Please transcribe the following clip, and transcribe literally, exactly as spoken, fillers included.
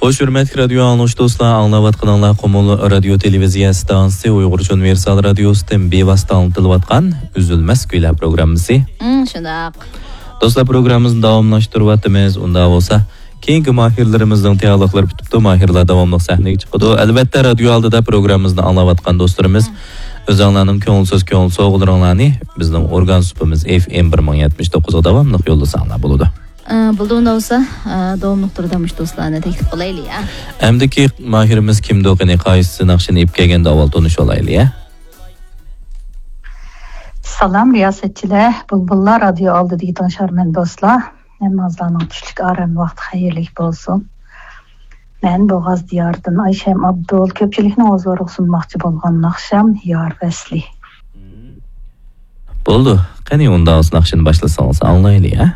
خوش، ھۆرمەتلىك رادىيو ئاڭلىغۇچى دوستلار، ئاڭلاۋاتقىنىڭلار قۇمۇل رادىيو تېلېۋىزىيە ئىستانسىسى ئۇيغۇرچە ئۇنىۋېرسال رادىيوسىدىن بىۋاسىتە ئاڭلىتىلىۋاتقان ئۈزۈلمەس كۈيلەر پروگراممىسى. مم، شۇنداق. دوستلار، پروگراممىمىزنى داۋاملاشتۇرۇۋاتىمىز. ئۇنداق بولسا، كېيىنكى ماھىرلىرىمىزنىڭ تەييارلىقلىرى پۈتۈپتۇ. ماھىرلار داۋاملىق سەھنىگە چىقىدۇ. ئەلۋەتتە، رادىيو ئالدىدا پروگراممىمىزنى ئاڭلاۋاتقان دوستلىرىمىز، ئۆزۈڭلارنىڭ كۆڭۈل سۆز، كۆڭۈل سوۋغىلىرىڭلارنى بىزنىڭ ئورگان سۇپىمىز ئېف ئېم بىر مىڭ يەتمىش توققۇزغا داۋاملىق يوللىساڭلار بولىدۇ. ئە، بولدى، ئۇنداق بولسا، ئە، داۋاملىق تۈردە مۇشۇ دوستلارنى تەكلىپ قىلايلى، ھە؟ ئەمدىكى ماھىرىمىز كىمدۇ؟ قېنى، قايسى ناخشىنى ئېلىپ كەلگەندە ئاۋۋال تونۇشۇۋالايلى، ھە؟ سالام، رىياسەتچىلەر، بۇلبۇللار رادىيو ئالدىدىكى تىڭشارمەن دوستلار، ھەممىڭلارنىڭ چۈشلۈك ئارام ۋاقتى خەيرلىك بولسۇن. مەن بوغاز دىيارىدىن ئايشەم ئابدۇل، كۆپچىلىكنىڭ ھۇزۇرىغا سۇنماقچى بولغان ناخشام يار ۋەسلى. بولدى، قېنى، ئۇنداق بولسا ناخشىنى باشلىسىڭىز ئاڭلايلى، ھە؟